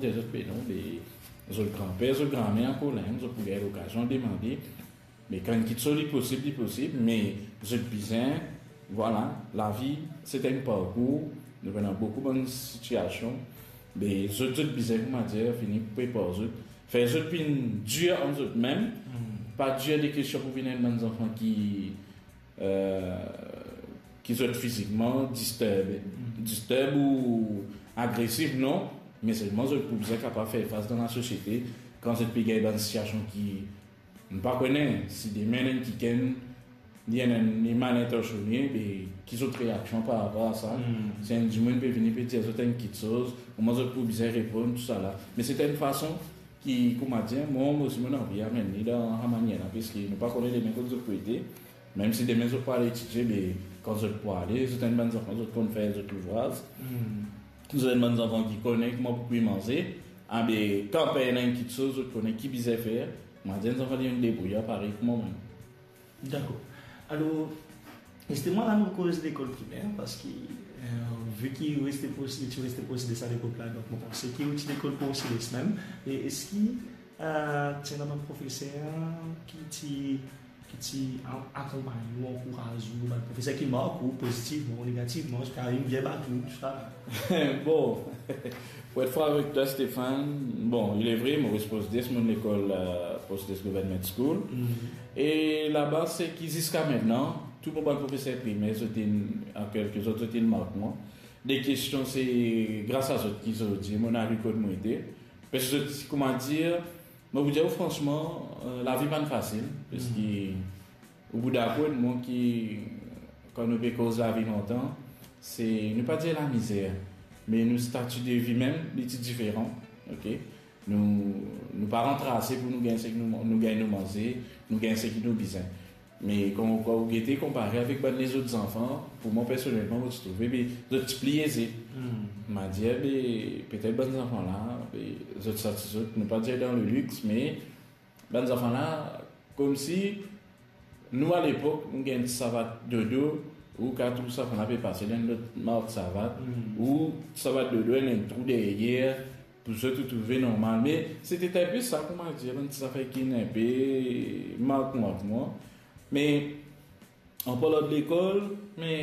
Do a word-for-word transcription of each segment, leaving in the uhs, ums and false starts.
dir zot, be non, be zot granper, zot granmer ankor la, zot pou gagn lokazion demande. Me kan kiksoz li posib, li posib, me zot bizin, vwala, lavi se enn parkour, nou ena boukou bann sitiasion, be zot, zot bizin, koumadir, fini prepar zot, fer zot vinn dir an zot mem, pa dir de kestion pou vinn enn bann zanfan ki, eh, ki zot fizikman disturb, disturb ou agresif, non, me selman zot pou bizin kapav fer fas dan lasosiete kan zot pe gagn bann sitiasion ki, nou pa kone si demin enn kikenn, li enn, enn, li mal intansione, be ki zot reaksion par rapor a sa. Si enn dimoun pe vini, pe dir zot enn kiksoz, kouma zot pou bizin reponn, tousala. Me se enn fason ki, koumadir, mwa, mwa osi, mo anvi amenn li dan sa manier la, paski nou pa kone demin kot zot pou ete. Mem si demin zot pou al etidie, be kan zot pou ale, zot enn bann zanfan, zot konn fer zot louvraz. Zot enn bann zanfan ki kone kouma pou kwi manze. Ah, be kan pena enn kiksoz, zot kone ki bizin fer. Mo dir enn zanfan li debrouye parey kouma mwa. Dakor. Alor, zisteman, la nou koz lekol primer, paski, eh, vi ki ou reste pros, ti reste pros de sa lepok la, donk mo panse ki ou ti lekol Port Céleste mem. E eski, eh, ti ena bann profeser ki ti, ki ti a-, akonpagn ou, ankouraz ou, bann profeser ki mark ou pozitivman ou negativman, ziska inn vinn bat ou, tousala? Bon, pou et fran avek twa, Stéphane, bon, il est vrai, mo reste Port Céleste, mo lekol, eh, Port Céleste Government School. E laba, seki ziska mintnan, tou mo bann profeser primer, zot inn, an kelke sort, zot inn mark mwa. De kestion, se gras a zot ki zordi mo ariv kot mo ete. Paski zot, koumadir, mo pou dir ou fransman, eh, lavi pa'nn fasil, paski ou pou dakor ek mwa ki, kan nou pe koz lavi lontan, se, nou pa dir lamizer, me nou stati de vi mem, li ti diferan, ok? Nou, nou pa rant ase pou nou gagn seki nou, nou gagn nou manze, nou gagn seki nou bizin. Me kan, kan ou gete konpare avek bann lezot zanfan, pou mwa personelman, mo ti trouve, be, zot ti pli eze. Mo dir, be, petet bann zanfan la, be, zot santi zot, nou pa dir dan lelix, me bann zanfan la, koumsi nou, a lepok, nou gagn ti savat dodo, ou kapav trouv sa, finn pe pase dan lot mark savat, ou savat dodo, ena enn trou deryer, pou zot ou trouve normal. Me se ti enpe sa, koumadir, bann ti zafer ki inn enpe mark mwa, mark mwa. Me an parlan de lekol, me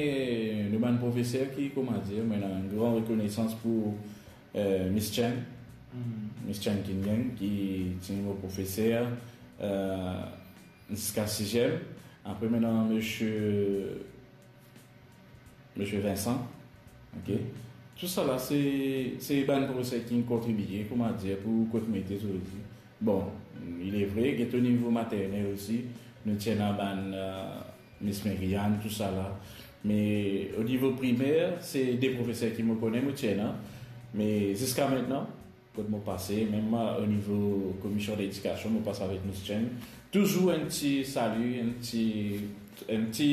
nou bann profeser ki, koumadir, mo ena enn gran rekonesans pou, eh, Miss Chen. Miss Chen Kingen, ki ti mo profeser, eh, ziska siziem. Apre, mo ena misie, misie Vincent. Ok? Tousala, se, se bann profeser ki kontribie, koumadir, pou kot mo ete zordi. Bon, il est vrai, get o nivo maternel osi, nou ti ena bann, eh, Miss Meriane, tousala. Me o nivo primer, se de profeser ki mo kone, mo ti ena. Me ziska mintnan, kot mo pase, mem o nivo komision ledikasion, mo pas avek Miss Chen. Touzour enn ti sali, enn ti, enn ti,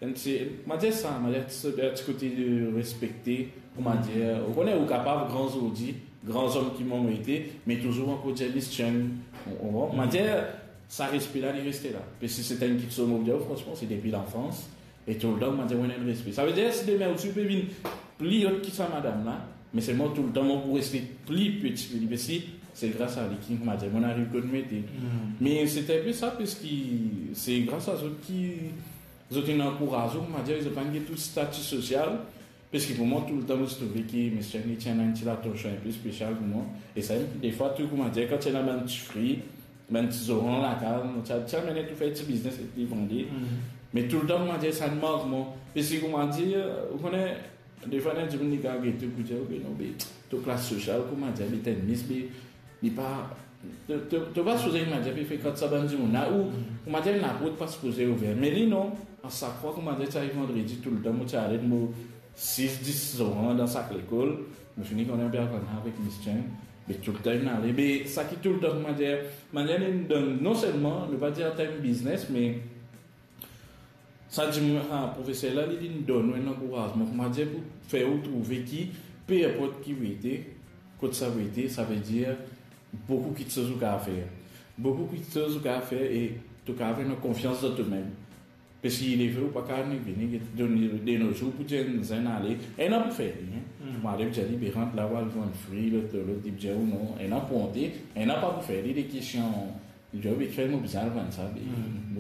enn ti, mo dir sa, mo dir ti, ti kote de respekte, koumadir, ou kone, ou kapav gran zordi, gran zom ki mo ete, me touzour ankor dir Miss Chen, ou, ou, mo dir, sa respe la, li reste la. Paski se enn kiksoz, mo dir, fransman, se depi lanfans, e toultan, mo dir, mo ena enn respe. Savedir, si demin ou ti pe vinn pli ot ki sa madam la, me selman toultan mo pou reste pli peti ki li, paski se gras a li ki, mo dir, mo ariv kot mo ete. Me se enpe sa, paski se gras a zot ki zot inn ankouraz ou, mo dir, zot pa'nn get tou stati sosial, paski pou mwa, toultan, mo ti trouve ki Miss Chen, li ti ena enn ti latansion enpe spesial pou mwa. E sa, defwa tou, koumadir, kan ti ena bann ti fri, bann ti zoran lakaz, mo ti, ti amenn tou fer ti biznes ek li vande. Me toultan, koumadir, sa inn mark mwa. Paski, koumadir, ou kone, defwa, ena dimoun ki kapav gete ou pou dir, "Ok, non, be, to klas sosial, koumadir, be, tenn Miss, be, li pa, to, to, to pa sipoze, koumadir, pe frekant sa bann dimoun la," ou, koumadir, enn laport pa sipoze ouver. Me li, non, a sak fwa, koumadir, ti ariv vandredi, toultan, mo ti ale, mo sis, dis zoran dan sak lekol, mo fini kone enpe avek Miss Chen, be toultan inn ale, be sa ki toultan, koumadir, manier li donn, non selman, nou pa dir an term biznes, me sa dimoun, sa profeser la, li, li donn ou enn ankourazman, koumadir, pou fer ou trouve ki, pe inport ki ou ete, kot sa ou ete, savedir, boukou kiksoz ou kapav fer. Boukou kiksoz ou kapav fer e to kapav ena konfians dan to mem. Parski lefe ou pa kapav vini, donn li de nozour pou dir enn zenn ale, ena pou fer li, hein. Hmm. Mo ale pou dir li, be rant la, ou al vann fri, lot, lot, li pou dir ou non, ena pou monte, ena pa pou fer li, de kestion, li dir, be fer mo bizin al vann sa, be, hmm.